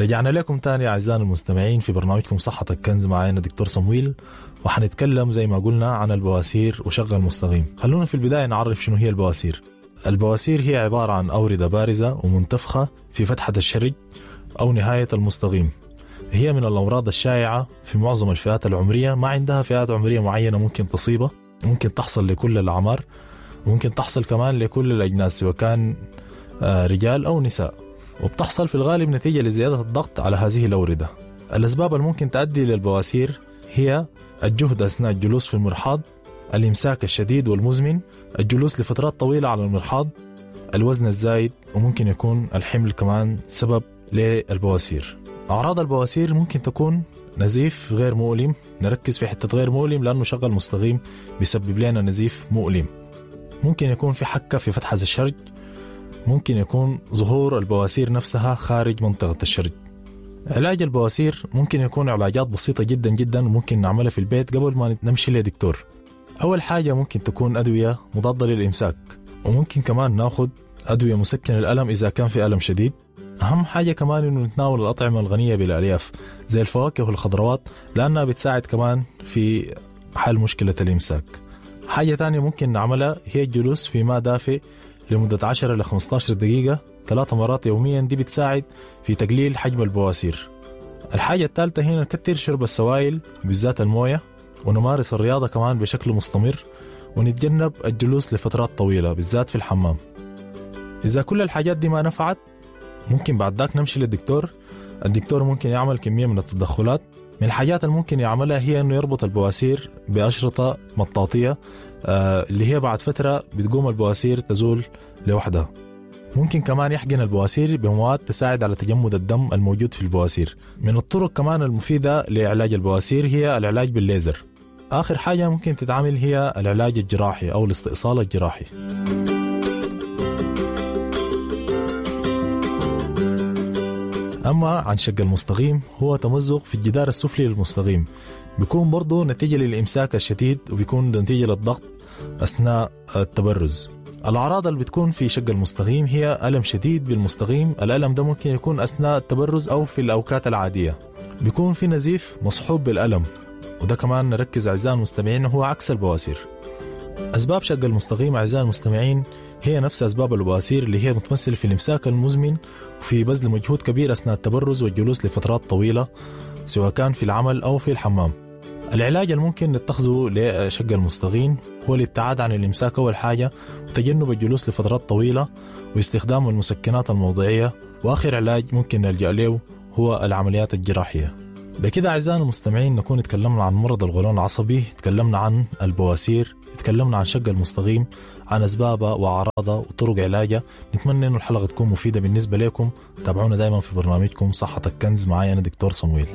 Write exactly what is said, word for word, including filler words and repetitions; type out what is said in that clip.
رجعنا لكم تاني أعزائنا المستمعين في برنامجكم صحتك كنز، معانا دكتور صمويل، وحنتكلم زي ما قلنا عن البواسير وشق المستقيم. خلونا في البداية نعرف شنو هي البواسير. البواسير هي عبارة عن أوردة بارزة ومنتفخة في فتحة الشرج أو نهاية المستقيم. هي من الأمراض الشائعة في معظم الفئات العمرية، ما عندها فئات عمرية معينة ممكن تصيبها، ممكن تحصل لكل الأعمار، ممكن تحصل كمان لكل الأجناس سواء كان رجال أو نساء، وبتحصل في الغالب نتيجة لزيادة الضغط على هذه الأوردة. الأسباب الممكن تؤدي للبواسير هي الجهد أثناء الجلوس في المرحاض، الإمساك الشديد والمزمن، الجلوس لفترات طويلة على المرحاض، الوزن الزايد، وممكن يكون الحمل كمان سبب للبواسير. أعراض البواسير ممكن تكون نزيف غير مؤلم، نركز في حتة غير مؤلم لأنه شغل مستقيم بيسبب لنا نزيف مؤلم. ممكن يكون في حكة في فتحة الشرج، ممكن يكون ظهور البواسير نفسها خارج منطقة الشرج. علاج البواسير ممكن يكون علاجات بسيطة جدا جدا وممكن نعملها في البيت قبل ما نمشي لدكتور. أول حاجة ممكن تكون أدوية مضادة للإمساك، وممكن كمان ناخد أدوية مسكن الألم إذا كان في ألم شديد. أهم حاجة كمان إنه نتناول الأطعمة الغنية بالألياف زي الفواكه والخضروات لأنها بتساعد كمان في حل مشكلة الإمساك. حاجة تانية ممكن نعملها هي الجلوس في ماء دافئ لمدة عشرة إلى خمسة عشر دقيقة ثلاث مرات يوميا، دي بتساعد في تقليل حجم البواسير. الحاجة الثالثة هنا نكتر شرب السوائل بالذات الموية، ونمارس الرياضة كمان بشكل مستمر، ونتجنب الجلوس لفترات طويلة بالذات في الحمام. إذا كل الحاجات دي ما نفعت ممكن بعد ذاك نمشي للدكتور. الدكتور ممكن يعمل كمية من التدخلات. من الحاجات اللي ممكن يعملها هي أنه يربط البواسير بأشرطة مطاطية اللي هي بعد فترة بتقوم البواسير تزول لوحدها. ممكن كمان يحقن البواسير بمواد تساعد على تجمد الدم الموجود في البواسير. من الطرق كمان المفيدة لعلاج البواسير هي العلاج بالليزر. آخر حاجة ممكن تتعامل هي العلاج الجراحي أو الاستئصال الجراحي. أما عن شق المستقيم هو تمزق في الجدار السفلي للمستقيم، بيكون برضو نتيجة للإمساك الشديد وبيكون نتيجة للضغط أثناء التبرز. الأعراض اللي بتكون في شق المستقيم هي ألم شديد بالمستقيم، الألم ده ممكن يكون أثناء التبرز أو في الأوقات العادية. بيكون في نزيف مصحوب بالألم، وده كمان نركز أعزائي المستمعين هو عكس البواسير. أسباب شق المستقيم أعزائي المستمعين هي نفس أسباب البواسير اللي هي متمثلة في الإمساك المزمن وفي بذل مجهود كبير أثناء التبرز والجلوس لفترات طويلة سواء كان في العمل أو في الحمام. العلاج الممكن نتخذه لشق المستقيم هو الابتعاد عن الإمساك أول حاجة، وتجنب الجلوس لفترات طويلة، واستخدام المسكنات الموضعية، وآخر علاج ممكن نلجأ له هو العمليات الجراحية. بكده أعزائنا المستمعين نكون تكلمنا عن مرض القولون العصبي، تكلمنا عن البواسير، تكلمنا عن شق المستقيم، عن أسبابه وأعراضه وطرق علاجه. نتمنى أن الحلقة تكون مفيدة بالنسبة لكم. تابعونا دائما في برنامجكم صحتك كنز، معايا أنا دكتور صمويل.